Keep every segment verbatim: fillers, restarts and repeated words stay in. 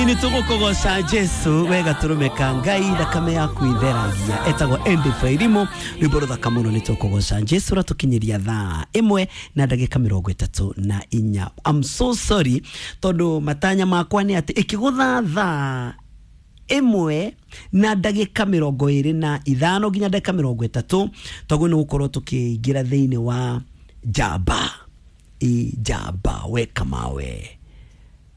Ĩni tũgũkũgoca Jesu wega tũrũme ka Ngai thakame yaku itheragia etagwo Andy Fairimo rwĩmbo rũthaka mũno. Nĩ tũkũgoca Jesu ratũkinyĩria thaa ĩmwe na ndagĩka mĩrongo ĩtatũ na inya. I'm so sorry tondũ matanya makwa nĩ atĩ ĩkĩgũtha thaa ĩmwe na ndagĩka mĩrongo ĩrĩ na ithano nginya ndagĩka mĩrongo ĩtatũ tondũ nĩ gũkorwo tũkĩingĩra thĩinĩ wa njamba i njamba weka mawe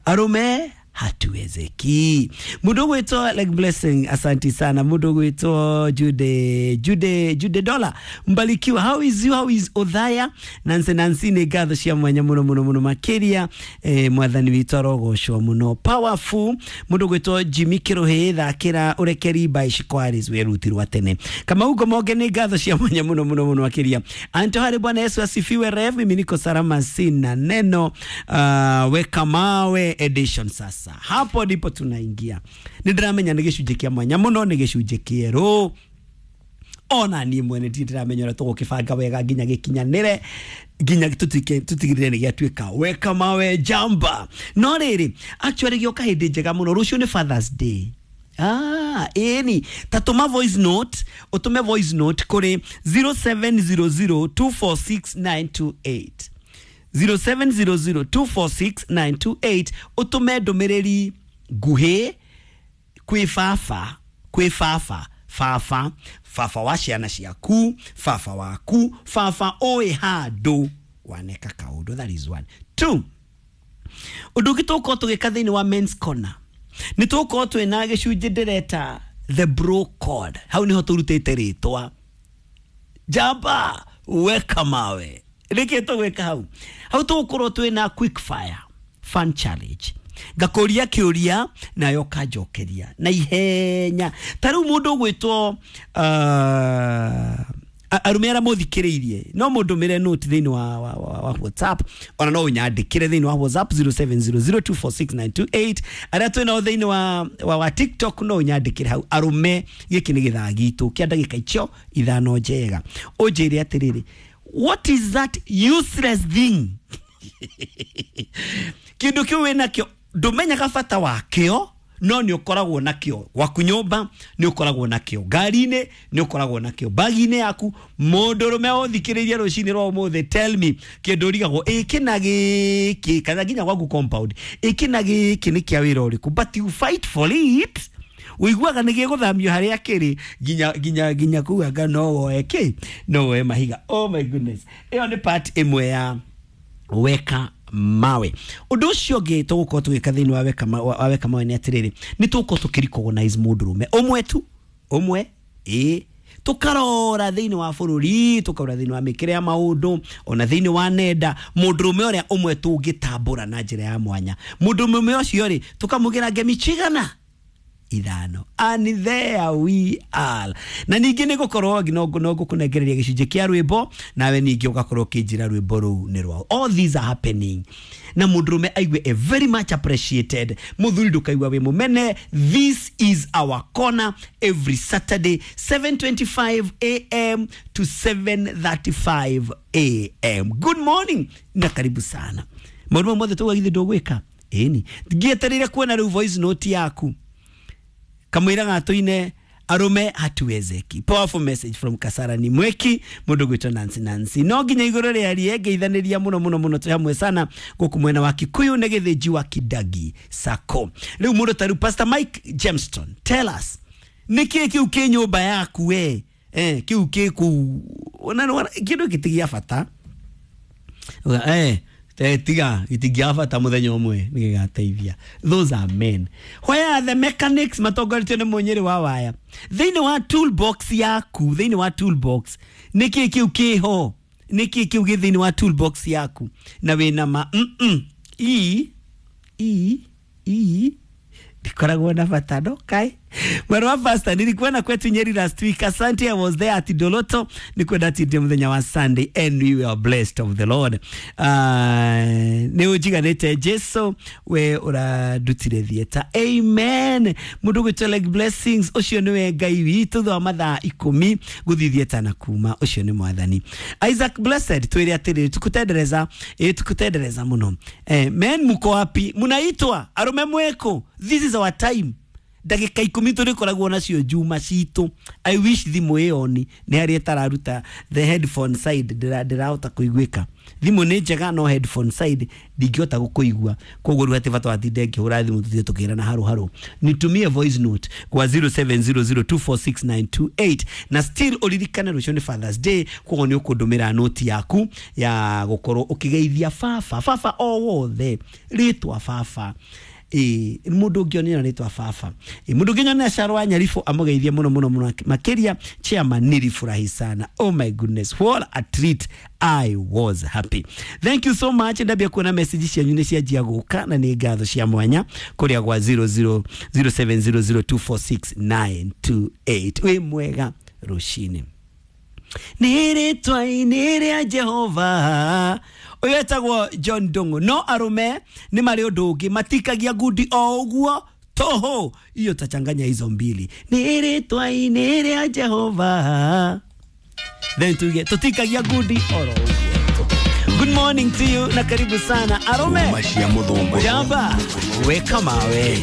arume hatuwezeki. Mundu gwitwo like Blessing, asanti sana. Mundu gwitwo Jude Jude Jude Dollar Mbalikiwa, how is you, how is Othaya? Nancy Nancy nĩ ngatho cia mwanya muno muno muno makiria. eh, mwathani witũ arogocwo muno. Powerful mundu gwitwo Jimmy Kiruhi thakira urekeri by Shikwaris werutirwa tene. Kamau Monge nĩ ngatho cia mwanya muno muno muno makiria. Anto hari Bwana Yesu asifiwe. Rev, mimi niko salama sina neno. uh, weka mawe edition sasa hapo ndipo tunaingia. Nĩ ndĩramenya nĩ gĩcunjĩ kĩa mwanya mũno, nĩ gĩcunjĩ kĩerũ ona niĩ mwene ndirĩ ndĩramenya ũrĩa tũgũkĩbanga wega nginya gĩkinyanĩre nginya tũtuĩke tũtigĩrĩre nĩ gĩatuĩka weka mawe jamba. No rĩrĩ actually gĩoka hĩndĩ njega mũno. Rũciũ nĩ Father's Day. Ah, ĩni ta tũma voice note, ũtũme voice note kũrĩ zero seven zero zero two four six nine two eight zero seven zero zero two four six nine two eight ũtũme ndũmĩrĩri nguhĩ kwĩ baba, kwĩ baba, baba, baba wa ciana ciaku, baba waku, baba ũĩ handũ waneka kaũndũ. That is one. Two, ũndũ ũngĩ tũgũkorwo tũgĩka thĩinĩ wa men's corner nĩ tũgũkorwo twĩna gĩcunjĩ ndĩreta the bro code. Hau nĩho tũrutĩte rĩtwa njamba weka mawe. Nĩkĩ tũgwĩka hau? Hau tũgũkorwo twĩna quick fire fun challenge. Ngakũria kĩũria nayo kanjokeria na ihenya. Ta rĩu mũndũ ũgwĩtwo uh, arume arĩa mũthikĩrĩirie no mũndũmĩre note thĩinĩ wa, wa, wa, wa WhatsApp, ona no ũnyandĩkĩre thĩinĩ wa WhatsApp zero seven zero zero two four six nine two eight. Arĩa twĩ nao thĩinĩ wa, wa, wa TikTok no ũnyandĩkĩre hau. Arume gĩkĩ nĩ gĩthaa gitũ kĩa ndagĩka icio ithano njega. Ũnjĩre atĩrĩrĩ, what is that useless thing? Kĩndũ kĩu wĩnakĩo ndũmenyaga bata wakĩo, no nĩ ũkoragwo nakĩo gwaku nyũmba, nĩ ũkoragwo nakĩo ngari-inĩ, nĩ ũkoragwo nakĩo bagi-inĩ yaku. Mũndũrũme ũthikĩrĩirie rũcinĩ rwa ũmũthĩ, tell me kĩndũ ũrigagwo ĩkĩ na gĩkĩ, kana nginya gwaku compound ĩkĩ na gĩkĩ nĩ kĩa wĩra ũrĩkũ, but you fight for it. Ũiguaga nĩ gĩgũthamio harĩa kĩrĩ nginya nginya nginya kũu anga no woe kĩ, no woe mahiga. Oh my goodness, ĩyo nĩ part ĩmwe ya weka mawe. Ũndũ ũcio ũngĩ tũgũkorwo tũgĩka thĩinĩ wa weka ma-, wa weka mawe nĩ atĩrĩrĩ, nĩ tũgũkorwo tũkĩ-recognize mũndũrũme ũmwe tu, ũmwe ĩ tũkarora thĩinĩ wa bũrũri, tũkarora thĩinĩ wa mĩkĩre ya maũndũ, ona thĩinĩ wa nenda, mũndũrũme ũrĩa ũmwe tũngĩtambũra na njĩra ya mwanya. Mũndũrũme ũcio rĩ, tũkamũgĩra ngemi cigana? Ithano. And there we are. Na ningĩ nĩ gũkorwo no no ngũkũnengereria gĩcunjĩ kĩa rwĩmbo, nawe ningĩ ũgakorwo ũkĩnjĩra rwĩmbo rũu nĩ rwao. All these are happening. Na mũndũrũme aigue a very much appreciated. Mũthuri ndũkaigua wĩ mũmene. This is our corner every Saturday seven twenty-five A M to seven thirty-five A M. Good morning na karibu sana. Maũndũ mothe tũgagithĩ ndũgwĩka. Ĩni ngĩetereire kuona rĩu voice note yaku. Kamwira gatuine arume hatuwezeki. Powerful message from Kasarani Mweki, mundu gwitwo Nancy Nancy. No nginya iguru rĩa ngeithaniria muno muno muno twi hamwe sana guku mwena wa Kikuyu na Githinji wa Kidagi Sacco. Riu mundu ta riu Pastor Mike Jameston, tell us niki kiu ki nyumba yaku we eh kiu ki ku ona kindu gitigia bata eh tiga itigia bata muthenya umwe nigigateithia. Those are men. Where are the mechanics matongoretio ni munyiri wa waya thiini wa toolbox yaku? Thiini wa toolbox niki kiu kiho, niki kiu gi thiini wa toolbox yaku na wina ma mm -mm. i i i ndikoragwo na bata no kai Mwerwa pastor, nilikuwa kwetu Nyeri last week. Asante, I was there at Doloto. Nikwenda atindie muthenya wa Sunday and we were blessed of the Lord. Uh, nĩ ũnjiganĩte Jesu we ũrandutire theatre. Amen. Mũndũ gwĩtwo like blessings, ũcio nĩwe Ngai witũ thutha wa mathaa ikũmi gũthiĩ theatre na kuma, ũcio nĩ mwathani. Isaac Blessed, twĩre atĩrĩrĩ, tukutendereza, ĩ tukutendereza mũno. Eh, men muko wapi? Munaitwa arume mweko. This is our time. Ndagĩka ikũmi tũrĩkoragwo nacio njuma citũ. I wish thimũ ĩyo ni nĩ harĩa ĩtararuta the headphone side, ndĩrahota kũiguĩka. Thimũ nĩ njega no headphone side ndingĩhota gũkũigua, koguo rĩu hatirĩ bata watinde ngĩhũra thimũ tũthiĩ tũkĩrana harũ harũ. Nitumie voice note kwa zero seven zero zero two four six nine two eight na still ũririkane rũciũ nĩ Father's Day, koguo nĩ ũkũndũmĩra noti yaku ya gũkorwo ũkĩgeithia baba, baba o wothe rĩtwa baba. Ĩ mũndũ ũngĩonera rĩtwa baba, ĩ mũndũ ũngĩnyonera Caro wa Nyaribũ amũgeithie mũno mũno mũno makĩria. Chairman, nilifurahi sana. Oh my goodness, what a treat. I was happy. Thank you so much. Ndambia kuona message cianyu nĩ cianjia gũka na nĩ ngatho cia mwanya kũrĩa gwa zero zero zero seven zero zero two four six nine two eight. Wĩ mwega rũcinĩ. Nĩ rĩtwa-inĩ rĩa Jehova. Ũyũ etagwo John Ndung'u. No arũme nĩ marĩ ũndũ ũngĩ, matikagia ngundi o ũguo toho, hiyo tachanganya hizo mbili. Nĩ rĩtwa-inĩ rĩa Jehova, then tuge tutikagia ngundi oro ũguo. Good morning to you na karibu sana arume. Macia muthungu. Jamba weka mawe.